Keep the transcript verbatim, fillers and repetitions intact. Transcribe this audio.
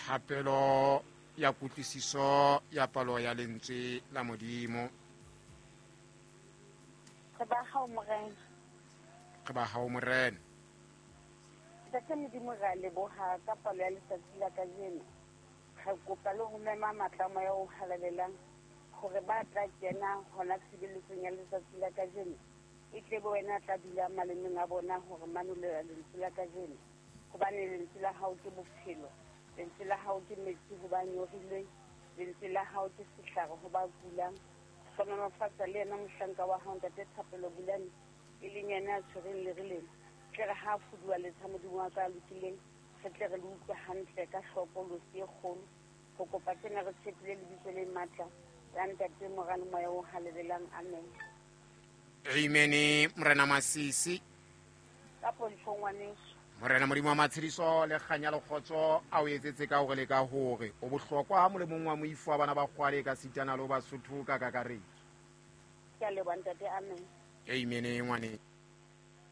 Thapelo ya kutlwisiso ya palo ya lentswe la Modimo. Re ba hao Morena. Re ba hao Morena. Ntate Modimo, re a leboha ka palo ya letsatsi la kajeno. Re kopa le ho mema matla a moya o halalelang hore ba tla kena hona tshebeletsong ya letsatsi la kajeno. E tle be wena a tla dula malemeng a bona hore manolela lentswe la kajeno. Hobane lentswe la hao ke bophelo. Lentswe la hao ke metsi ho ba nyorilweng. Lentswe la hao ke sehlare ho ba kulang. Hlohonolofatsa le yena mohlanka wa hao Ntate Thapelo Bulane, e leng yena a tshwereng lere lena. Tle re ha fuduwa letsha Modimo wa ka a lokileng, re tle re le utlwe hantle ka hloko losi e kgolo. Ho kopa tsena re tshepile lebitso le matla la Ntate, Mora le Moya o Halalelang. Amen. Amen. Morena Masisi. Ka pontsho ngwaneso. Morena Modimo wa matshediso le kganya le kgotso a o etsetse ka hore le ka hore o bohlokwa ha molemong wa moifo wa bana ba kgwale ka sitana le ba Sotho ka kakaretso. Ke a leboha ntate. Amen. Amen ngwane.